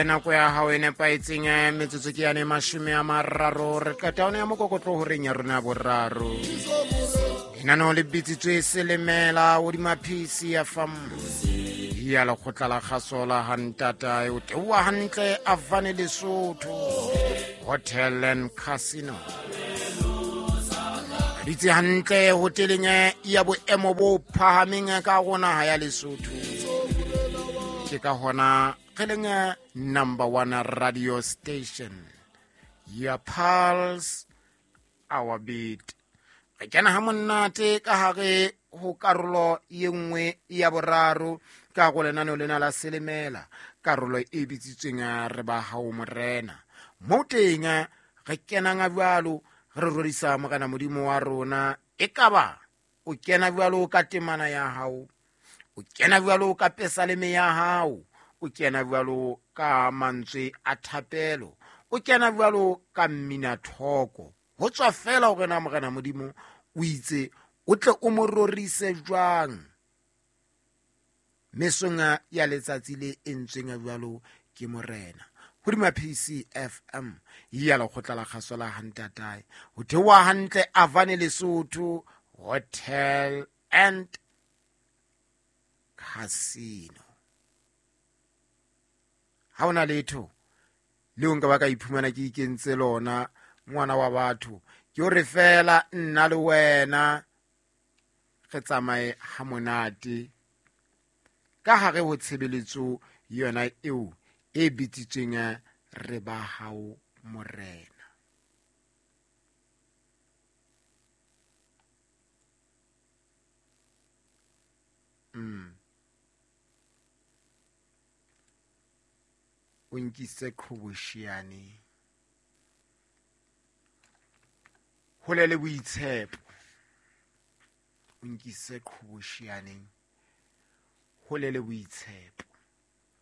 Nako ya hao e nepahetseng, metsotso ke yane 30, re qeta one ya mokokotlo horeng ya rona ya boraro. Lenaneo le bitsitswe Selemela hodima PC ya fam ya lekgotla la kgaso la hantata o teoa hantle Avane Lesotho Hotel and Casino. Re ditse hantle hoteleng ya boemo bo phahameng ka go naha ya Lesotho. Ke ka hona re leng number one radio station, your pulse our beat. Re kena ha monate ka hare ho karolo ye nngwe ya boraro ka go lenaneo lena la Selemela, karolo e bitsitsweng re ba hao morena. Mo teng re kenang jwalo re rorisa morena Modimo wa rona. Ekaba o kena jwalo ka temana ya hao, o kena jwalo ka pesaleme ya hao, o kena jwalo ka mantswe a thapelo, o kena jwalo ka mmina thoko. Ho tswa fela hore na morena Modimo o itse o tle o mo rorise jwang mesong ya letsatsi le entsweng jwalo ke morena. Hodima PCFM ya lekgotla la kgaso la hantatae ho theoha hantle Avane Lesotho Hotel and Casino. Ha ona letho leo nka ba ka iphumana ke ikentse lona ngwana wa batho, ke hore fela nna le wena re tsamaye ha monate ka hare ho tshebeletso yona eo e bitsitsweng re ba hao morena. O nkise qhobosheane hole le boitshepo, o nkise qhobosheaneng hole le boitshepo.